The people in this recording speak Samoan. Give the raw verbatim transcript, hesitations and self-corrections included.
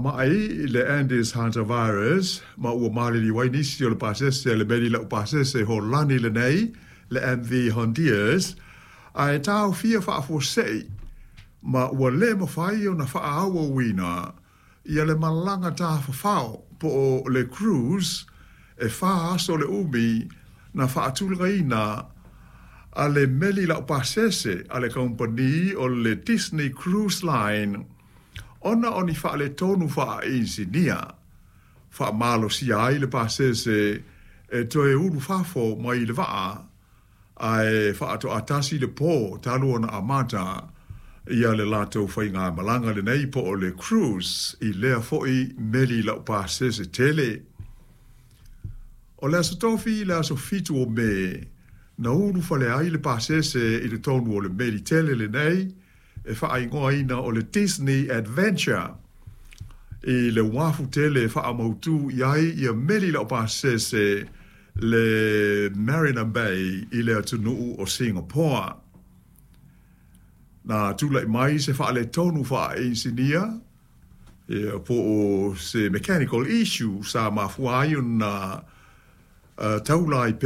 Ma'i le Andes Hantavirus ma ua maliliu ai nisi o le pasese a le meli laupasese Holani lenei, le M V Hondius, ae taofia faafuasei ma ua lē mafai ona faaauauina ia le malaga tafafao po o le cruise e fa aso le umi na faatulagaina a le meli laupasese a le kamupani o le Disney Cruise Line ona o ni faaletonu faainisinia. Faamalosia ai le pasese e toe ulufafo mai le vaa ae faatoatasi le pō talu ona amata ia le latou faigamalaga lenei po o le cruise i lea foʻi meli laupasese tele. O le aso Tofi le aso fitu o Me na ulufale ai le pasese i totonu o le meli tele lenei e faaigoaina o le Disney Adventure i le uafu tele e faamautū i ai ia meli laupasese, le Marina Bay i le atunuu o Singapore. Na tulaʻi mai se faaletonu faainisinia ia po o se mechanical issue sa mafua ai ona uh, taula ai.